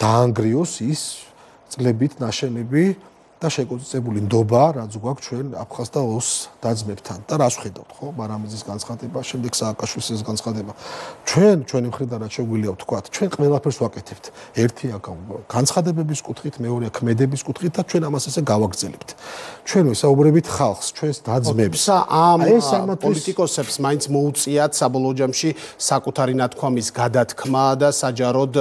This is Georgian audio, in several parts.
დაანგრიოს ის წლებით ნაშენები და შეკოწებული ნდობა, რაც გვაქვს ჩვენ აფხაზ და ოს დაძმებთან. და რას ვხედავთ, ხო? მარამიძის განცხადება, შემდეგ სააკაშვილის განცხადება. ჩვენი მხრიდან რაც შეგვიძლია ვთქვათ, ჩვენ ყველაფერს ვაკეთებთ. ერთი აქ განცხადებების კუთხით, მეორე ქმედების კუთხით და ჩვენ ამას ესე გავაგრძელებთ. ჩვენ ვისაუბრებით ხალხს, ჩვენს დაძმებს. ამ პოლიტიკოსებს მაინც მოუწიათ საბოლოო ჯამში საკუთარი ნათქვამის გადათქმა და საჯაროდ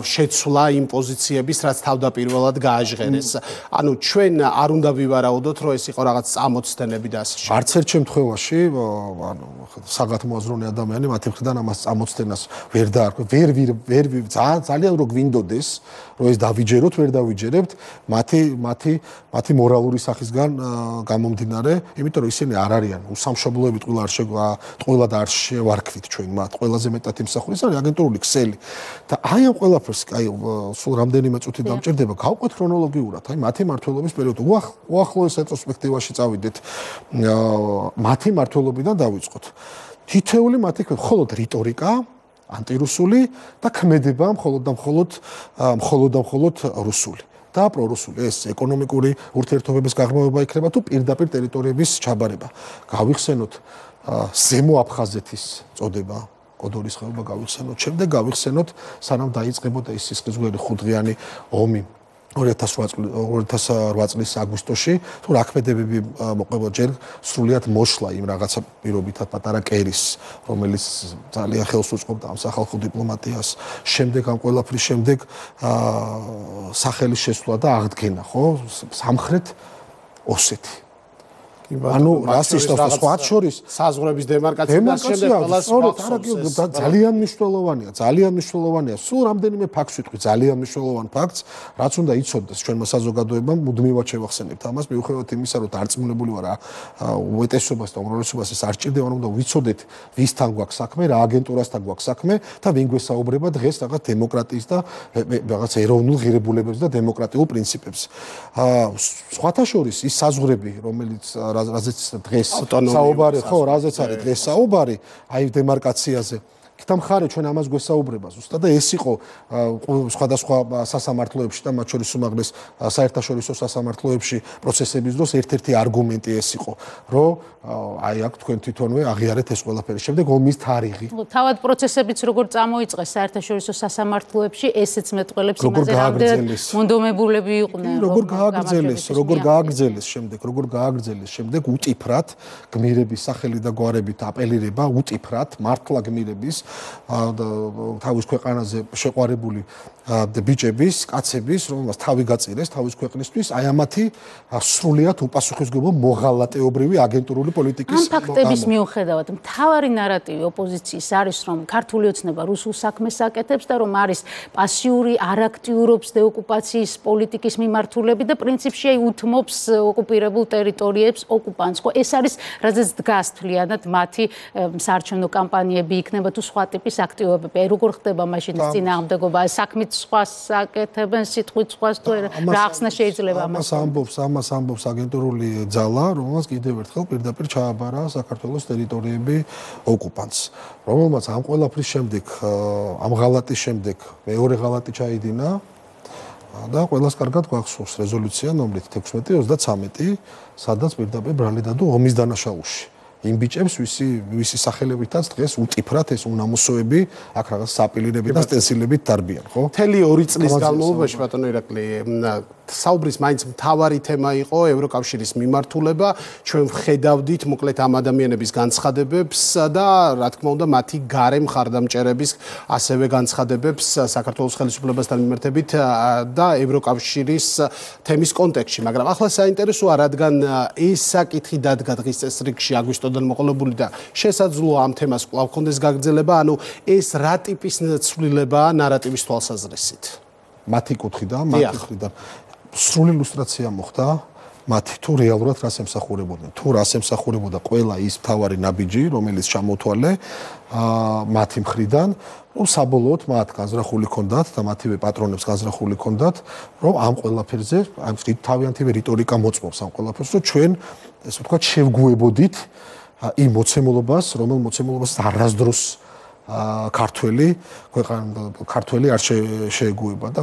შეცვლა იმ პოზიციების, რაც თავდაპირველად გააჟღერეს. ანუ ჩვენ არ უნდა ვივარაუდოთ, რომ ეს იყო რაღაც წამოცდენები და ასე შემდეგ. არც ერთ შემთხვევაში, ანუ საგათმოაზროვნე ადამიანი მათი მხრიდან ამას წამოცდენას ვერ დაარქვე, ვერ ძალიან რო გვინდოდეს, რომ ეს დავიჯეროთ, ვერ დავიჯერებთ, მათი მორალური სახისგან გამომდინარე, იმიტომ რომ ისინი არ არიან უსამშობლოებით ყველა და არ შევარქვით ჩვენ მათ, ყველაზე მეტად იმსახურეს არის აგენტურული ქსელი. და აი ამ ყველაფერს, აი სულ რამდენიმე წუთი დამჭირდება, გავყვეთ ქრონოლოგიურად, აი მათი მმართველობის პერიოდი. უახლოეს რეტროსპექტივაში წავიდეთ. მათი მმართველობიდან დავიწყოთ. თითეული მათი მხოლოდ რიტორიკა, ანტირუსული და ქმედება მხოლოდ და მხოლოდ რუსული. და პრორუსული ეს ეკონომიკური ურთიერთობების გაღრმავება იქნება თუ პირდაპირ ტერიტორიების ჩაბარება. გავიხსენოთ ზემო აფხაზეთის წოდება, კოდორის ხეობა გავიხსენოთ, შემდეგ გავიხსენოთ სანამ დაიწყებოდა ის სისხლისღვრელი ხუთდღიანი ომი 2008 წლის აგვისტოში, თუ რა ქმედებები მოყვება ჯერ სრულიად მოშლა იმ რაღაცა პირობითად პატარა კერის, რომელიც ძალიან ხელს უწყობდა ამ სახალხო დიპლომატიას, შემდეგ ამ ყველაფრის შემდეგ სახელის შესვლა და აღდგენა, ხო? სამხრეთ ოსეთი. ანუ რასისტავს სხვა შორის საზღვრების დემარკაცია ძალიან მნიშვნელოვანია. სულ რამდენიმე ფაქტს ვიტყვი, ძალიან მნიშვნელოვან ფაქტს, რაც უნდა იცოდეს ჩვენმა საზოგადოებამ, მუდმივად შევახსენებთ ამას, მიუხედავად იმისა, რომ დარწმუნებული ვარ, უეტესობას და უმრავლესობას ეს არ ჭირდება, უნდა ვიცოდეთ, ვისთან გვაქვს საქმე, რა აგენტურასთან გვაქვს საქმე და ვინ გვესაუბრება დღეს რაღაც დემოკრატიის და რაღაც ეროვნულ ღირებულებებს და დემოკრატიულ პრინციპებს. სხვათა შორის ის საზღვრები, რომელიც რაზეც დღეს საუბარი, ხო, რაზეც არის დღეს საუბარი, აი დემარკაციაზე. და მხარე ჩვენ ამას გვესაუბრება ზუსტად და ეს იყო სხვადასხვა სასამართლოებში და მათ შორის უმაღლეს საერთაშორისო სასამართლოებში პროცესების დროს ერთ-ერთი არგუმენტი ეს იყო, რომ აი აქ თქვენ თვითონვე აღიარეთ ეს ყველაფერი. შემდეგ ომის თარიღი. თავად პროცესებიც როგორ წამოიწყეს საერთაშორისო სასამართლოებში, ესეც მეტყველებს იმაზე, რამდენად მონდომებულები იყვნენ. როგორ გააგრძელეს შემდეგ უტიფრად გმირების სახელი და გვარებით აპელირება უტიფრად მართლა გმირების თავის ქვეყანაზე შეყვარებული ბიჭების, კაცების, რომელსაც თავი გაწირეს თავის ქვეყნისთვის, აი ამათი სრულიად უპასუხისმგებლო მოღალატეობრივი აგენტურული პოლიტიკის ამ ფაქტების მიუხედავად, მთავარი ნარატივი ოპოზიციის არის, რომ ქართული ოცნება რუსულ საქმეს აკეთებს და რომ არის პასიური, არ აქტიურობს დეოკუპაციის პოლიტიკის მიმართულებით და პრინციპში აი უთმობს ოკუპირებულ ტერიტორიებს ოკუპანტს. ხო, ეს არის რაზეც დგას თვლიანად მათი საარჩევნო კამპანიები იქნება თუ სხვა ტიპის აქტივობები. აი როგორ ხდება მაშინ წინააღმდეგობა, საქმით სხვას აკეთებენ, სიტყვით სხვას თუ რა ახსნა შეიძლება ამას ამბობს აგენტურული ძალა, რომელსაც კიდევ ერთხელ პირდაპირ ჩააბარა საქართველოს ტერიტორიები ოკუპანტს, რომელმაც ამ ყველაფრის შემდეგ, ამ ღალატის შემდეგ მეორე ღალატი ჩაიდინა და ყველას კარგად გვახსოვს რეზოლუცია ნომრით 1633, სადაც პირდაპირ ბრალი დადო ომის დანაშაულში. იმ ბიჭებს ვისი სახელებითაც დღეს უტიფრად ეს უნამოსოები აქ რაღაც საპილირები და სტენსილებით დარბიან, ხო? მთელი 2 წლის განმავლობაში ბატონო ირაკლი საუბრის მაინც მთავარი თემა იყო ევროკავშირის მიმართულება. ჩვენ ვხედავდით მოკლედ ამ ადამიანების განცხადებებს და რა თქმა უნდა მათი გარე მხარდამჭერების ასევე განცხადებებს საქართველოს ხელისუფლებასთან მიმართებით და ევროკავშირის თემის კონტექსტში. მაგრამ ახლა საინტერესოა, რადგან ეს საკითხი დადგა დღის წესრიგში აგვისტოდან მოყოლებული და შესაძლოა ამ თემას კვლავ კონდეს გაგრძელება, ანუ ეს რა ტიპის ცვლილებაა ნარატივის თვალსაზრისით? მათი კუთხიდან სრული ილუსტრაცია მოხდა მათი თუ რეალურად რას ემსახურებოდნენ. თუ რას ემსახურებოდა ყველა ის მთავარი ნაბიჯი, რომელიც ჩამოთვალე მათი მხრიდან, რომ საბოლოოდ მათ განზრახული ჰქონდათ და მათივე პატრონებს განზრახული ჰქონდათ, რომ ამ ყველაფერზე ამ თავიანთი რიტორიკა მოწმობს ამ ყველაფერს, რომ ჩვენ ესე ვთქვათ შევგუებოდით იმ მოცემულობას, რომელ მოცემულობას არასდროს ქართველი არ შეეგუება და